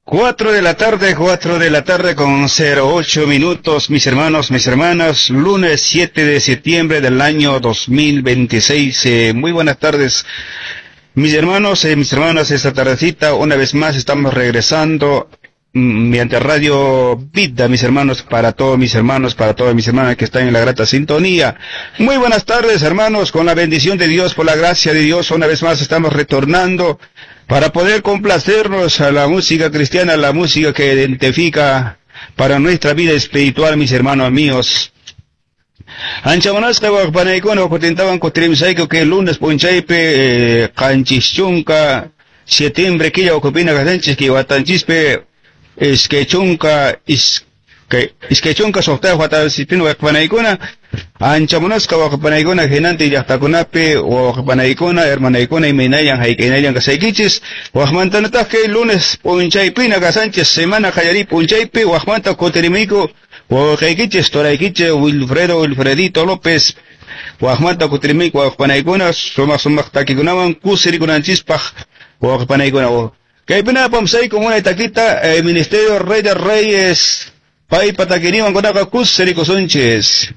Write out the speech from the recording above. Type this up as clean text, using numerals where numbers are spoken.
4 de la tarde, 4 de la tarde con 08 minutos, mis hermanos, mis hermanas, lunes 7 de septiembre del año 2026. Muy buenas tardes, mis hermanos, mis hermanas, esta tardecita, una vez más estamos regresando mediante Radio Vida, mis hermanos, para todos mis hermanos, para todas mis hermanas que están en la grata sintonía. Muy buenas tardes, hermanos, con la bendición de Dios, por la gracia de Dios, una vez más estamos retornando para poder complacernos a la música cristiana, la música que identifica para nuestra vida espiritual, mis hermanos míos. Ancha munasqa waqpanaykuna kutintawan kutirimsayku kay lunes p'unchaypi 70 septiembre killa ukhupina kasanchis kay watanchispi 26 watasipina waqpanaykuna ancha munasqa waqpanaykuna hinantin llaqtakunapi waqpanaykuna hermanaykuna imaynallan hayk'aynallan kasaykichis waqmantanataq kay lunes p'unchaypina kasanchis semana qallariy p'unchaypi waqmanta kutirimuyku wawqaykichis turaykichis Wilfredo Wilfredito López waqmanta kutirimuyku waqpanaykuna sumaq sumaq takikunawan kusirikunanchispaq waqpanaykuna kaypina apamsayku munay takita Ministerio Rey de Reyes paypa takiniwan kunaqa kusirikusunchis.